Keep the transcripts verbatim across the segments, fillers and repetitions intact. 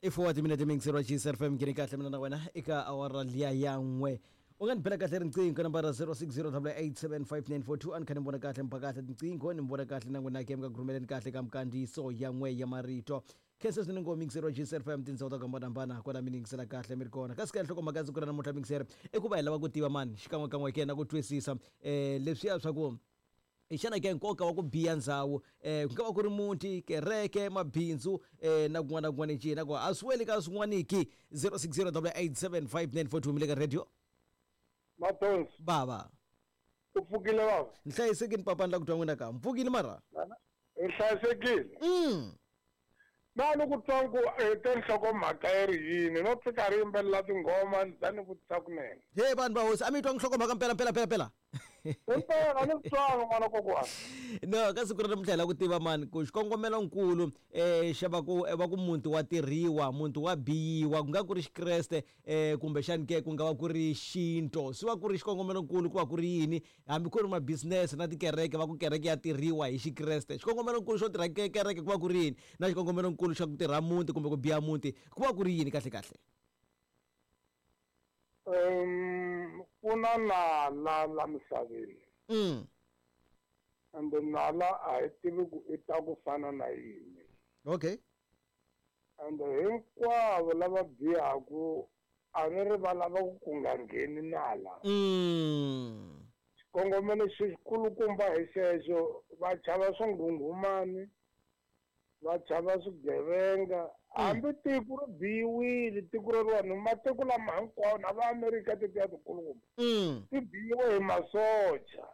I four timinete mingisero wa G S F M ngeni kahle mina na wena eka awara liya ya n'we. U nga ni bela kahle riqingho ka nambara zero six zero eight seven five nine four two. A ni kha ni vona kahle mba kahle tinqingho, ni vona kahle na n'wina ke mi nga rhumeleni kahle ka mikandziyiso ya n'we ya marito. Khensa swinene ngo mingisero wa G S F M tindhawu ta ku hambanahambana kwala mi yingisela kahle mi ri kona. Kasi ka nhlokomhaka ya siku ra namuntlha, mingisero, i ku va hi lava ku tiva mani xikan'wekan'we ke na ku twisisa um leswiya swa ku xana ke nkoka wa ku biya ndzhawu, um ku nga va ku ri muti, kereke, mabindzu, um na kun'wana na kun'wana njhe, na ku a swi weli ka swin'waniki. zero six zero eight seven five nine four two, mi le ka radio. Mathonsi. Bava. U pfukile, bava? Ni hlayisekini, papa. Ni la ku twa n'wina ka mpfukile mara. Hi hlayisekile. mm. Na ni ku twa ku eh, te nhlokomhaka yi ri yini, no tshika ri yimbelela tinghoma, ni za ni vutisa kunene. He vanhu va hosi, a mi twa nhlokomhaka mpela mpela mpela mpela? Impela, a ni ku twanga, n'wana kokwana. No, ka siku ra namuntlha hi lava ku tiva mani ku xikongomelonkulu um xa va ku va ku muti wa tirhiwa, muti wa biyiwa, ku nga ku ri xikreste um kumbexani ke ku nga va ku ri xinto, swi va ku ri xikongomelonkulu ku va ku ri yini? Hambi ku ri ma-business na tikereke, va ku kereke ya tirhiwa hi xikreste, xikongomelonkulu xo tirha ke- kereke ku va ku ri yini, na xikongomelonkulu xa ku tirha muti kumbe ku biya muti ku va ku ri yini kahle kahle? um ku na nala la misaveni. mm. Ende nala a hi tivi ku i ta ku fana na yini. Okay ende hinkwavo lava bihaku, a ni ri va lava ku ku nga ngheni nala. mm. Xikongomelo xikulukumba hi xexo, va chava swinghunghumani, va chava swigevenga. Hambi tiko ri biyiwile, tiko reriwani, matiko lama hinkwawo na va Amerika tetiya tikulukumba, Mm. ti biyiwe hi masocha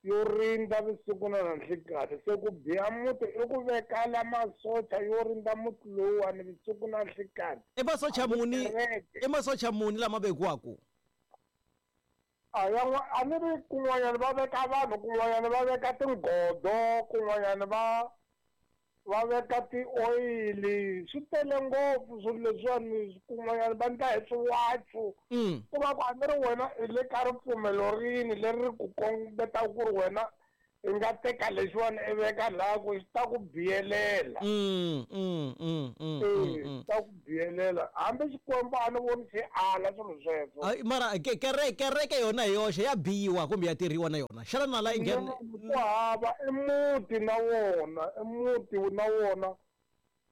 yo rindza vusiku na nanhlikani. Se ku biya muti i ku vekala masocha yo rindza muti lowuwani vusiku na nhlikani. I masocha muni? Kereke. I masocha muni lama vekiwaku? A ya n'wa- a ni ri kun'wanyana va veka vanhu, kun'wanyana va veka tinghodo, kun'wanyana va va veka ti-oyili. Swi tele ngopfu swilo leswiwani. Kun'wanyana va ndla hi swiwachu. mm. Ku va ku a ni ri wena i le ka ripfumelo rini leri ri ku kombetaka ku ri wena i nga teka lexiwani i veka laha ku xi ta ku biyelela? Mm, mm, mm, mm, e mm, mm. Ta ku biyelela. Hambi Xikwembu a ni voni xi ala swilo sweswo. Ai, mara ke- kereke kereke yona hi yoxe ya biyiwa kumbe ya tirhiwa na yona? Xana nala yi nghena? Ku hava, i muti na wona, i muti na wona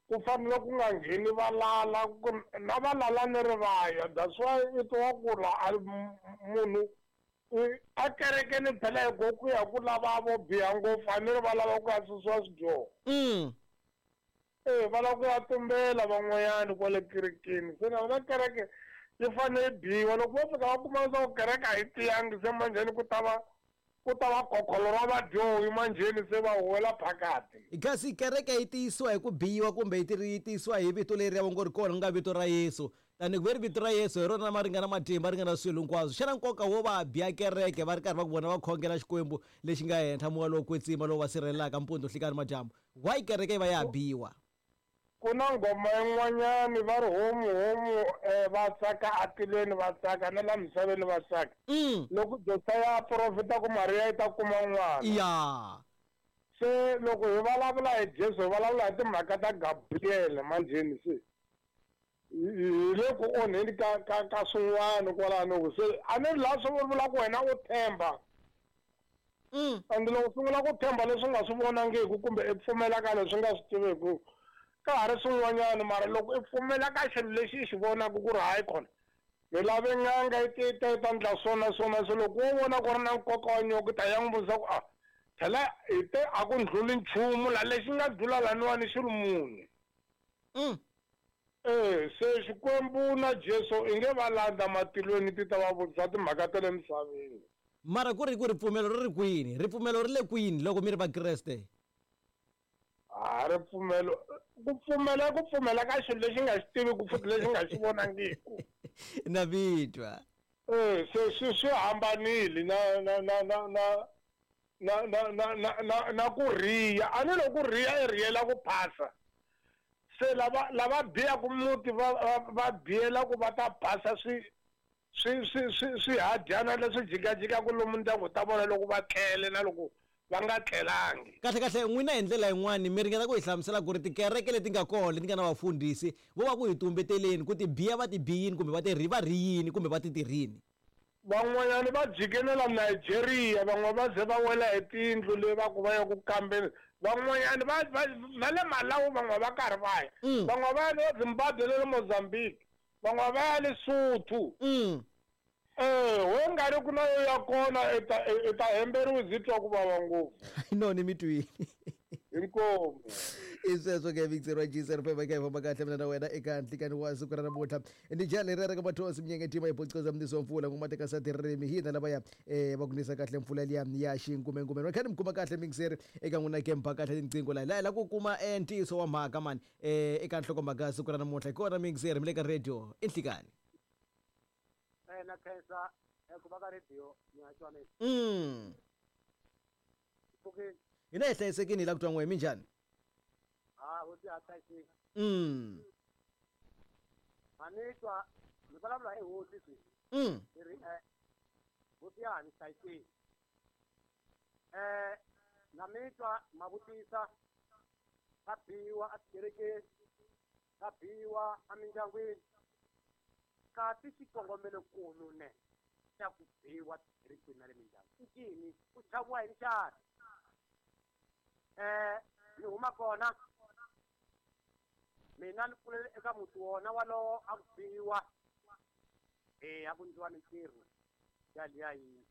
ku fanele ku nga ngheni valala, ku- na valala ni ri vaya. That's why i twa ku la a m- munhu i- a kerekeni phela hi go ku ya ku lava vo biha ngopfu, a ni ri va lava ku ya susiwa swidyoho. mm. E va lava ku ya tumbela van'wanyani kwale kerekeni. Se na vona kereke yi fanele yi biwa. Loko vo fika va kuma leswaku kereke a yi tiyangi, se manjheni ku ta va ku ta va khokholo ra vadyohi manjheni, se va huwela phakati. Kasi kereke yi tiyisiwa hi ku biyiwa kumbe yi tiri yi tiyisiwa hi vito leri ya ngo ri kona, ku nga vito ra Yesu? Tani ku ve ri vito ra Yesu hi rona ma ringana matimba, ri nga na swilo hinkwaswo, xana nkoka wo va biya kereke va ri karhi va ku vona va khongela Xikwembu lexi nga henhla, moya lowo kwetsima lowu va sirhelelaka mpundzu, nhlikani, madyambu, why kereke yi va ya ha biyiwa? Ku na nghoma yin'wanyani va ri homu homu, um va tsaka atilweni, va tsaka na la misaveni va tsaka. mm. Loko Josaya a profita ku Mariya yi ta kuma n'wana. Ya se loko hi vulavula hi Jesu, hi vulavula hi timhaka ta Gabriele manjheni, se hi hi le ku onheni ka ka ka swin'wana kwalano. Ku se a ni ri laha swi vula ku wena u tshemba. mm. And loko u sungula ku tshemba leswi nga swi vonangiku kumbe i pfumela ka leswi nga swi tiviku, ka ha ri swin'wanyana. Mara loko i pfumela ka xilo lexi i xi vonaka ku ri hayi khona, ni lave n'anga yi ti ta yi ta ndla swona swona, se loko wo vona ku ri na nkoka wa nyoka, i ta ya n'wi vutisa ku a phela hi te a ku ndluli nchumu la lexi nga dlula laniwani xi ri muni. Mm. E se Xikwembu na Jesu i nge va landza matilweni ti ta va vutisa timhaka ta le misaveni. Mara ku ri ku ripfumelo ri ri kwini? Ripfumelo ri le kwini loko mi ri vakreste? A ripfumelo, ku pfumela, ku pfumela ka xilo lexi nga xi tiviku futhi lexi nga xi vonangiku. Na vitwa. E se swi swi hambanile na na na na na na na na na na na ku riya. A ni loko ku riya i riyela ku phasa. Se lava lava biyaku muti va va va biyela ku va ta phasa swi swi swi swi swihadyana leswi jikajikaku lomu ndyangu ta vona loko va tlele na loko va nga tlelangi. Kahle kahle n'wina hi ndlela yin'wani mi ringeta ku hi hlamusela ku ri tikereke leti nga kona leti nga na vafundhisi vo va ku hi tumbeteleni ku ti biya va ti biyini kumbe va ti ri va ri yini kumbe va ti tirhini. Van'wanyana va jikenela Nigeria, van'we va ze va wela hi tindlu leyi va ku va ya ku kambeni, van'wanyana va va na le Malawi van'we va karhi va ya, Mm. van'we va ya le Zimbabwe na le Mozambique, van'we va ya Lesotho. Mm. Eh, we nga ri ku na yo ya kona i ta i ta hemberiwa byi twa ku vava ngopfu. No ni mi twini. Inkomu. I sweswo ke mixer wa G zero five ka hi famba kahle mina na wena eka nhlikani wa siku ra namuntlha. Ndi jali ri ri ka mathosi mnyenge tima hi bocoza mniso mpfula ngoma teka sa tirimi hina lavaya eh va ku nisa kahle mpfula liya ya xinkumenkume. Ri kha ni mi kuma kahle mixer eka n'wina ke mba kahle tinqingho la la la ku kuma eh ntiyiso wa mhaka mani eh eka nhlokomhaka ya siku ra namuntlha. Hi kona mixer mi le ka radio i nhlikani. Eh na khensa ku va ka radio ni ha twa mina. Mm. Pfukile. Hina hi hlayisekile hi la ku twa n'we minjhani? Ha hosi ha hlayiseki. Mm. A ni twa ni vulavula hi hosi sweswi. Mm. Ni ri eh hosi ya ha ni hlayiseki. Eh na mi twa ma vutisa ka biwa etikerekeni, ka biwa emindyangwini. Kasi xikongomelokulu ne xa ku biwa tikerekeni na le mindyangwini i ncini? Ku chaviwa yini xana? Eh ni huma kona mina ni kulele eka muti wona walowo a ku biwa eh a ku endliwa mintirho ya liya yi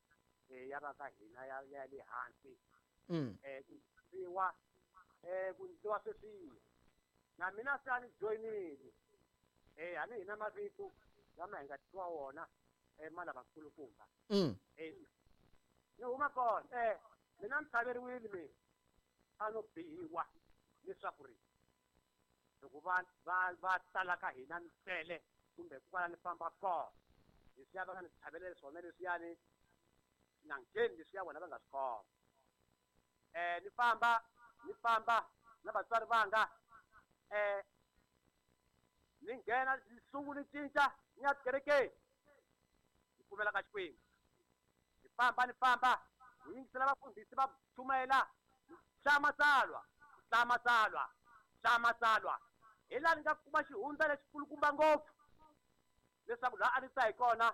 eh ya va ka hina ya ya le hansi. Mm. Eh ku biwa eh ku endliwa sweswiya na mina se a ni joyinile eh a ni hina mavito lama hi nga twa wona eh ma lavakulukumba. Mm. Eh ni huma kona eh mina ni tlhaveriwile mina a no biwa leswaku ri loko va va va tala ka hina ni tele kumbe kwala ni famba kona leswiya va nga ni tlhavelela swona leswiyani na ngheni leswiya vona va nga swi khoma. Eh ni famba ni famba na vatswari vanga eh ni nghena ni sungula ni cinca ni ya tikerekeni ni pfumela ka Xikwembu. Ni famba ni famba ni yingisela vafundhisi va chumayela hlaya matsalwa hlaya matsalwa hlaya matsalwa hi laha ni nga kuma xihundla lexikulukumba ngopfu leswaku laha a ni ta hi kona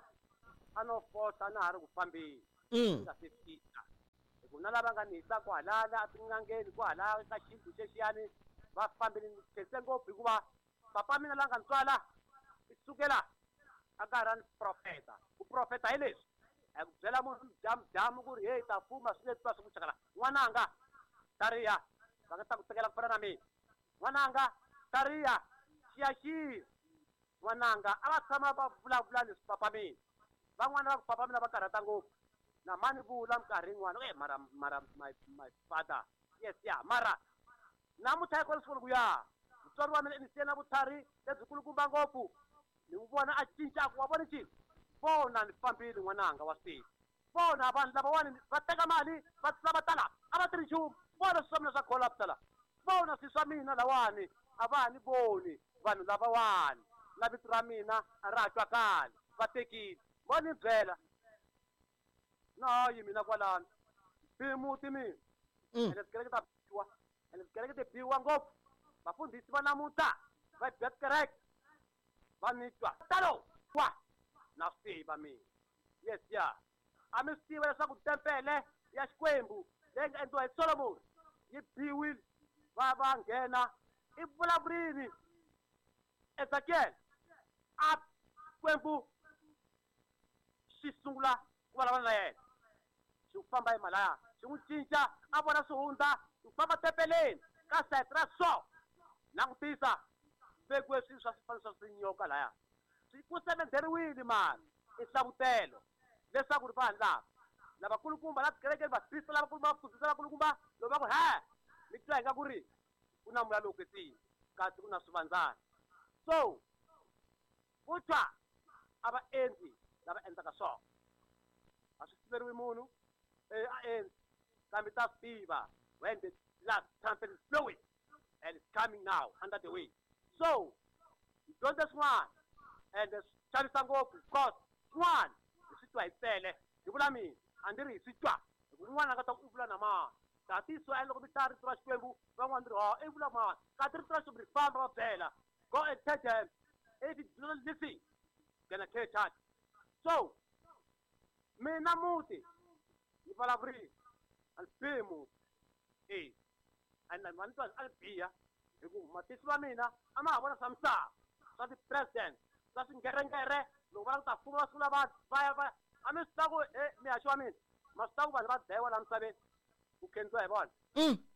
a no fosa na ha ri ku fambeni Mm. nga se fika hi ku na lava nga ni yisa kwahalaya etin'angeni kwahalaya ka xindlu xexiyani va fambile ni khense ngopfu hikuva papa mina la nga ni tswala i sukela a karhi a ni profeta ku profeta hi leswi a ku byela munhu jamujamu ku ri heyi ta fuma swi leswi va swi ku chakala n'wananga tariya va nga ta ku tekela ku fana na mina n'wananga tariya xiyaxiya n'wananga a va tshama va vulavula leswi papa mina van'wana va ku papa mina va karhata ngopfu na mani vula minkarhi yin'wana e mara mara my my father yes ya mara namuntlha yi kona ku ya mutswari wa mina ni siye na vutlhari lebyikulukumba ngopfu ni n'wi vona a cinca a ku wa vona ncini vona ni fambile n'wananga wa swi vona vanhu lavawani va teka mali va tlula va tala a va tirhi nchumu vona swilo swa mina swa collapse la vona swilo swa mina lawani a va ha ni voni vanhu lavawani na vito ra mina a ra ha twakali va tekile vo ni byela na yi mina kwalano bi muti mina Mm. ene tikereke ta biwa ene tikereke ti biwa ngopfu vafundhisi va namuntlha va biya tikereke va ni twa talo wa na swi tiva mina yes ya a mi swi tiva leswaku tempele ya Xikwembu leyi nga endliwa hi Solomon yi biwile va va nghena i vulavurini Ezekiel a Xikwembu xi sungula ku vulavula na yena xi ku famba hi malaya xi n'wi cinca a vona swihundla xi ku famba tempeleni ka sayiti ra so langutisa vekiwe swilo swa swifaniso swa swinyoka laya swi ku semenderiwile mani i hlavutelo leswaku ri vanhu lava lavakulukumba la tikerekeni vakrista lavakulukumba vafundhisi lavakulukumba loko va ku he mi twa hi nga ku ri ku na moya lowo kwetsima kasi ku na swivandzana so ku twa a va endli lava endlaka swona a swi siveriwi munhu eh a endli kambe ta swi tiva when the last trumpet is blowing and it's coming now under the way so hi dyondze swin'wana and swi chavisa ngopfu because swin'wana hi swi twa hi tsele hi vula mina a ndzi ri hi swi twa hi ku un'wana a nga ta ku i vula na mani Tatiso a loko mi hlaya rito ra Xikwembu van'wana ri ha i vula mani kasi rito ra Xikwembu ri famba va byela go and tell them if you do not listen gonna catch us. So mina muti ni vulavurile a ni bihi muti e a ni a ni twa a ni biha hi ku matihlo ma mina a ma ha vona swa misava swa ti-president swa swingerengere loko va lava ku ta fuma va sungula va va ya va a mi swi tiva ku e mihaxo wa mina ma swi tiva ku vanhu va dlayiwa laha misaveni ku khendziwa hi vona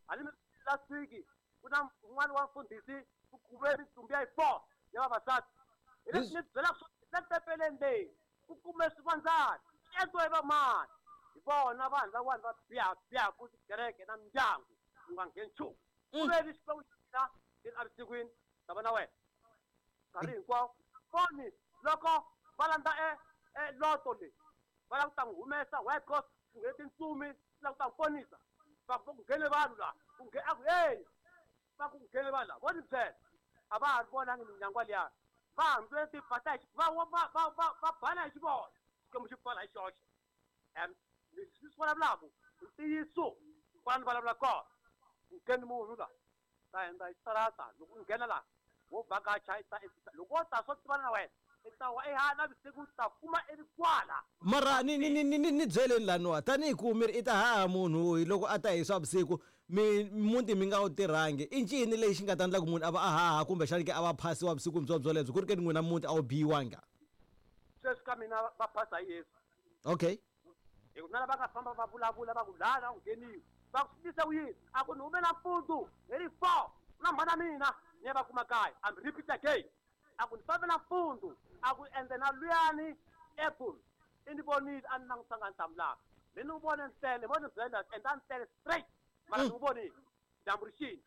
a ni mi last week ku na un'wana wa mfundhisi ku kume mintsumbu ya yi four ya vavasati hi leswi ni byelaka swo le tempeleni leyi ku kume swivandzana swi endliwa hi vamani hi vona vanhu van'wana va biha bihaku tikereke na mindyangu ku nga ngheni nchumu ku ve ni Xikwembu xa mina xi ri evusikwini ta va na wena nkarhi hinkwawo foni loko va landza e e loto leyi va lava ku ta n'wi humesa why because ku nghene tintsumi ti lava ku ta n'wi ponisa va ku nghene vanhu laha ku nge a ku hey va ku nghene vanhu laha vo ni byela a va ha ri vonangi minyangwa liya va hambi ti fata hi va va va va va bana hi xivona Xikwembu xi pfala hi xoxe and leswi swi vulavulaka ntiyiso kwala ni vulavula kona ku ngheni munhu la ta hundza hi xitarata loko u nghena laha wo vhakacha i ta loko wo ta swo tivana na wena i ta wa ehala vusiku u ta kuma i ri kwala mara ni ni ni ni ni byeleni laniwa tanihi ku mi ri i ta haha munhu hi loko a ta hi swa vusiku mi muti mi nga wu tirhangi i ncini lexi nga ta endla ku munhu a va a haha kumbexani ke a va phasiwa vusiku byo byolebyo ku ri ke ni n'wina muti a wu biyiwanga sweswi ka mina va phasa hi Yesu okay hi ku na lava nga famba va vulavula va ku laha la ku ngheniwi va ku swi tise ku yini a ku ni hume nampundzu hi ri four na mhana mina ni ya va kuma kaya I'm repeat again a ku ni fambe nampundzu a ku ende na luyani apple i ni vonile a ni langutanga ni hlamulanga mi ni n'wi vone ntsele vo ni byela ende a ni tele straight mara ni n'wi vonile dyambu ri xini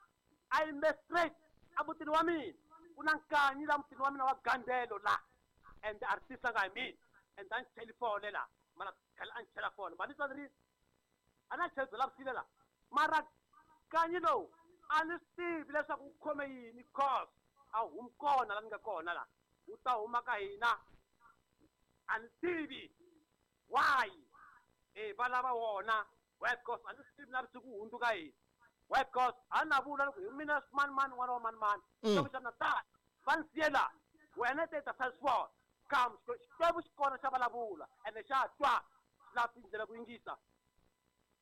a yime straight emutini wa mina ku na nkanyi la mutini wa mina wa gandelo la ende a ri tisanga hi mina ende a ni cheli fole la mara khale a ni chela fole mara ni twa ni ri a na cheli byela vusile la mara nkanyi lowu a ni swi tivi leswaku wu khome yini cause a humi kona la ni nga kona la wu ta huma ka hina a ni tivi why e va lava wona why because a ni swi tivi na vusiku wu hundzuka yini why because a ni na vula loko hi mina mani mani n'wana wa mani mani Xikwembu xa mina tani va ni siye la wena te ta sala swona kam Xikwembu xi kona xa vulavula ene xa twa xi lava tindlela ku yingisa